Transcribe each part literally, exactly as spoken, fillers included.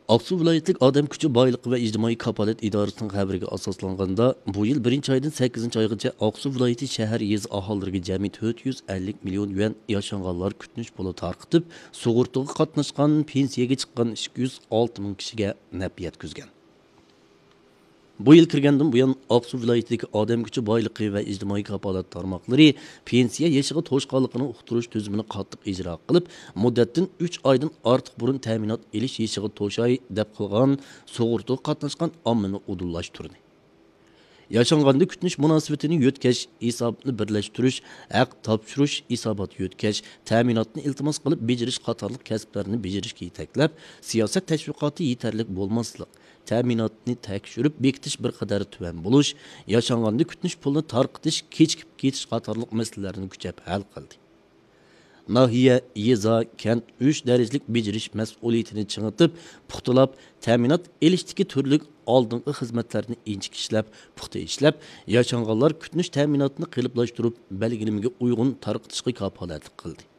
ئاقسۇ ۋىلايەتلىك ئادەم كۈچى بايلىقى ۋە ئىجتىمائىي كاپالەت ئىدارىسىنىڭ خەۋىرىگە ئاساسلانغاندا، بۇ يىل بىرىنچى ئايدىن سەككىزىنچى ئايغىچە ئاقسۇ ۋىلايىتى شەھەر، يېزا ئاھالىلىرىگە جەمئىي تۆت يۈز ئەللىك مىليون يۈەن ياشانغانلار كۈتۈنۈش پۇلى تارقىتىپ، سۇغۇرتىغا قاتناشقان، پېنسىيەگە چىققان ئىككى يۈز ئالتە مىڭ كىشىگە نەپ يەتكۈزگەن. بۇ يىل كىرگەندىن بۇيان، ئاقسۇ ۋىلايىتىدىكى ئادەم كۈچى بايلىقى ۋە ئىجتىمائىي كاپالەت تارماقلىرى پېنسىيە يېشىغا توشقانلىقىنى ئۇقتۇرۇش تۈزۈمىنى قاتتىق ئىجرا قىلىپ، مۇددەتتىن ئۈچ ئايدىن ئارتۇق بۇرۇن تەمىنات ئېلىش يېشىغا توشاي دەپ قىلغان سۇغۇرتىغا قاتناشقان ئاممىنى ئۇدۇللاشتۇردى. ياشانغاندا كۈتۈنۈش مۇناسىۋىتىنى يۆتكەش، ھېساباتنى بىرلەشتۈرۈش، ھەق تاپشۇرۇش، ھېسابات يۆتكەش، تەمىناتنى ئىلتىماس قىلىپ بېجىرىش قاتارلىق كەسىپلەرنى بېجىرىشكە يېتەكلەپ، سىياسەت تەشۋىقاتى يېتەرلىك بولماسلىق، تەمىناتنى تەكشۈرۈپ بېكىتىش بىر قەدەر تۆۋەن بولۇش، ياشانغاندا كۈتۈنۈش پۇلىنى تارقىتىش، كېچىكىپ كېتىش قاتارلىق مەسىلىلەرنى كۈچەپ ھەل قىلدى. ناھىيە، يېزا، كەنت ئۈچ دەرىجىلىك بېجىرىش مەسئۇلىيىتىنى چىڭىتىپ، پۇختىلاپ، تەمىنات ئېلىشتىكى تۈرلۈك ئالدىنقى خىزمەتلەرنى ئىنچىكە ئىشلەپ، پۇختا ئىشلەپ، ياشانغانلار كۈتۈنۈش تەمىناتىنى قېلىپلاشتۇرۇپ، بەلگىلىمىگە ئۇيغۇن تارقىتىشقا كاپالەتلىك قىلدى.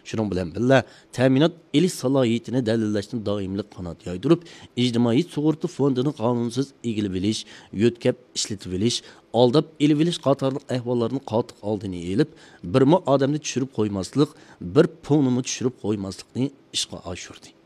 شۇنىڭ بىلەن بىللە، تەمىنات ئېلىش سالاھىيىتىنى دەلىللەشنى دائىملىق قانات يايدۇرۇپ، ئىجتىمائىي سۇغۇرتا فوندىنى قانۇنسىز ئىگىلىۋېلىش، يۆتكەپ ئىشلىتىۋېلىش، ئالداپ ئېلىۋېلىش قاتارلىق ئەھۋاللارنى قاتتىق ئالدىنى ئېلىپ، بىرمۇ ئادەمنى چۈشۈرۈپ قويماسلىق، بىر پونىمۇ چۈشۈرۈپ قويماسلىقنى ئىشقا ئاشۇردى.